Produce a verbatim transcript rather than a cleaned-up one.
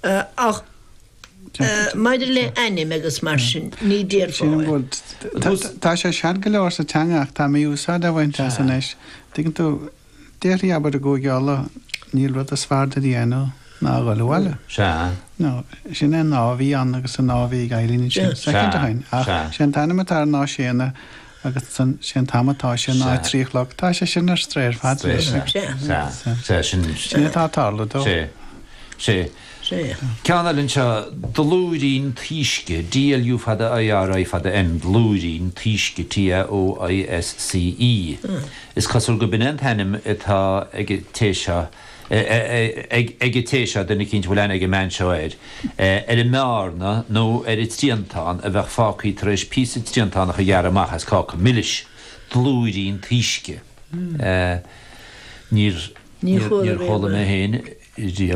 Ach maidir le ainm agus mar sin ní déarfá. Tá sé sean go leor sa teanga ach tá mí-úsáid á bhaint as anois. Tuigeann tú, déarfaí abair i gCúige Uladh níl rud is fearr duit a dhéanamh ná a dhul abhaile. Sea. No, sin é an nath a bhí ann agus an nath a bhí ag Eileen ansin soicind ó shin. Ach sé an t-ainm atá ar an Séanna agus sé an t-am atá sé ná a trí a chlog. Tá sé sin ar strae ar fad anois. Sea, sea, sea, sin. Sin atá ag tarlú dó. Sea, sea. Sea. Ceann eile anseo, Dlúirín Taoisce, DLU fada IRI fada N, Dlúirín Taoisce, TAOISCE. Is cosúil go b'in é an t-ainm atá ag an té seo, ag an té seo, duine eicínt a bhfuil aithne ag an mbean seo air, ar an mbearna nó ar an triantán a bheadh fágtha tar éis píosa triantánach a ghearradh amach as cáca milis. Dlúirín Taoisce. Níor, Níor níor chuala chuala mé mé féin riamh.